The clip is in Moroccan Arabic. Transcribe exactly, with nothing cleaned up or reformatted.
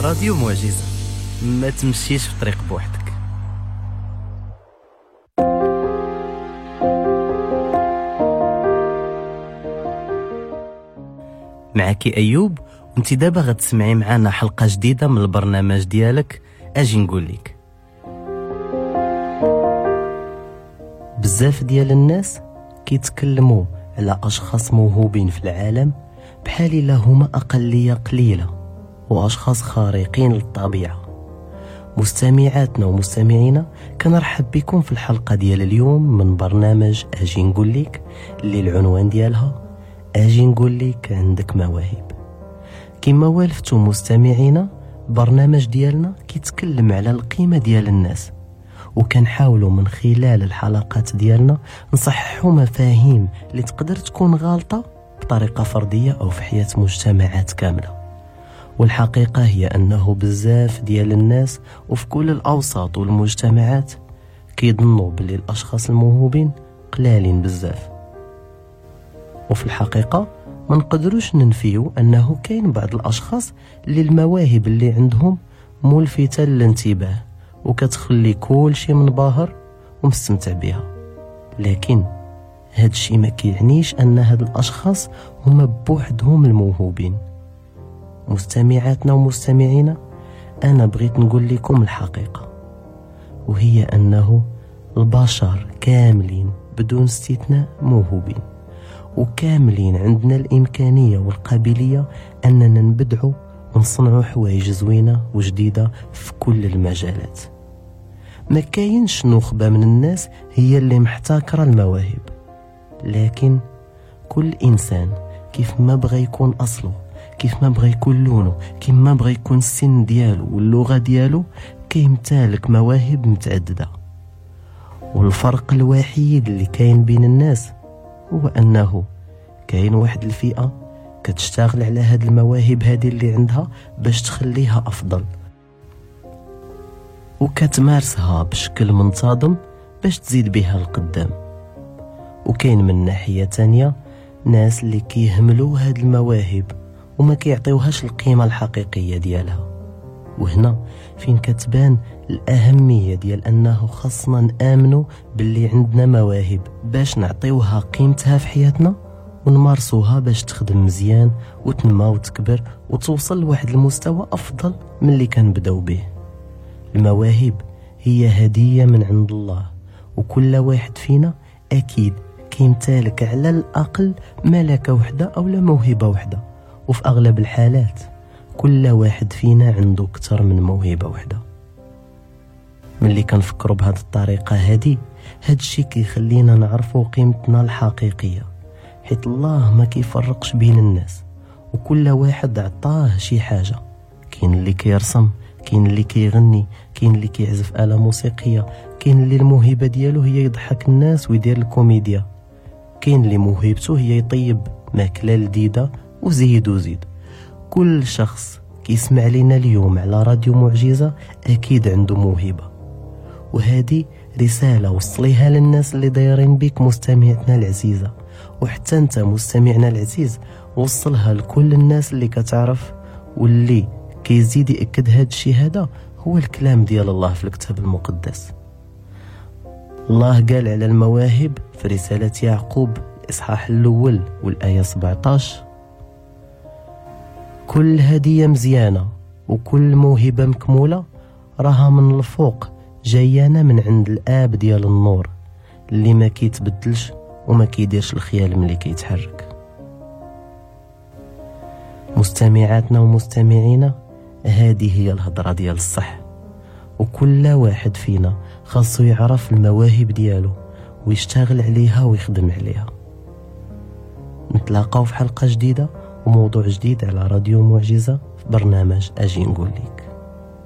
راديو معجزة، ما تمشيش في طريق بوحدك. معك أيوب، وانت دابا غتسمعي معنا حلقة جديدة من البرنامج ديالك أجي نقول لك. بزاف ديال الناس كيتكلموا على أشخاص موهوبين في العالم بحال إلا هما أقلية قليلة وأشخاص خارقين للطبيعة. مستمعاتنا ومستمعينا، كنرحب بكم في الحلقة ديال اليوم من برنامج أجي نقول لك، اللي العنوان ديالها أجي نقول لك عندك مواهب. كما والفتوا مستمعينا، برنامج ديالنا كيتكلم على القيمة ديال الناس، وكنحاولوا من خلال الحلقات ديالنا نصححوا مفاهيم اللي تقدر تكون غالطة بطريقة فردية أو في حياة مجتمعات كاملة. والحقيقة هي أنه بزاف ديال الناس وفي كل الأوساط والمجتمعات كيظنوا باللي الأشخاص الموهوبين قلالين بزاف، وفي الحقيقة ما نقدروش ننفيو أنه كاين بعض الأشخاص اللي المواهب اللي عندهم ملفتة للانتباه وكتخلي كل شيء منبهر ومستمتع بها، لكن هاد الشيء ما كيعنيش أن هاد الأشخاص هما بوحدهم الموهوبين. مستمعاتنا ومستمعينا، أنا بغيت نقول لكم الحقيقة، وهي أنه البشر كاملين بدون استثناء موهوبين، وكاملين عندنا الإمكانية والقابلية أننا نبدعوا ونصنعوا حوايج زوينة وجديدة في كل المجالات. ما كاينش نخبة من الناس هي اللي محتكرة المواهب، لكن كل إنسان كيف ما بغى يكون أصله، كيف ما بغى يكون لونه، كيف ما بغى يكون السن ديالو واللغة ديالو، كيمتلك مواهب متعددة. والفرق الوحيد اللي كاين بين الناس هو أنه كاين واحد الفئة كتشتغل على هاد المواهب هادي اللي عندها باش تخليها أفضل، وكتمارسها بشكل منتظم باش تزيد بها القدام. وكاين من ناحية تانية ناس اللي كيهملوا هاد المواهب وما كيعطيوهاش القيمة الحقيقية ديالها. وهنا فين كتبان الأهمية ديال أنه خاصنا نآمنوا باللي عندنا مواهب باش نعطيوها قيمتها في حياتنا ونمارسوها باش تخدم مزيان وتنمى وتكبر وتوصل لواحد المستوى أفضل من اللي كنبداو به. المواهب هي هدية من عند الله، وكل واحد فينا أكيد كيمتلك على الأقل ملكة وحدة أو لا موهبة وحدة، وفي أغلب الحالات كل واحد فينا عنده أكثر من موهبة وحدة. ملي كنفكروا بهذه الطريقة هذه، هاد الشي كيخلينا نعرفوا قيمتنا الحقيقية، حيت الله ما كيفرقش بين الناس وكل واحد عطاه شي حاجة. كاين اللي كيرسم، كاين اللي كيغني، كاين اللي كيعزف آلة موسيقية، كاين اللي الموهبة ديالو هي يضحك الناس ويدير الكوميديا، كاين اللي موهبته هي يطيب ماكلة لذيذة، وزيد وزيد. كل شخص كيسمع لنا اليوم على راديو معجزة أكيد عنده موهبة، وهذه رسالة وصليها للناس اللي دايرين بك مستمعتنا العزيزة، وحتى انت مستمعنا العزيز وصلها لكل الناس اللي كتعرف. واللي كيزيد يأكد هذا الشيء هذا هو الكلام ديال الله في الكتاب المقدس. الله قال على المواهب في رسالة يعقوب الإصحاح الأول والآية سبعة عشر: كل هدية مزيانة وكل موهبة مكمولة راها من الفوق، جايانا من عند الآب ديال النور اللي ما كيتبدلش وما كيديرش الخيال ملي كيتحرك. مستمعاتنا ومستمعينا، هذه هي الهضرة ديال الصح، وكل واحد فينا خاصو يعرف المواهب ديالو ويشتغل عليها ويخدم عليها. نتلاقاو في حلقة جديدة وموضوع جديد على راديو معجزة في برنامج أجي نقول لك.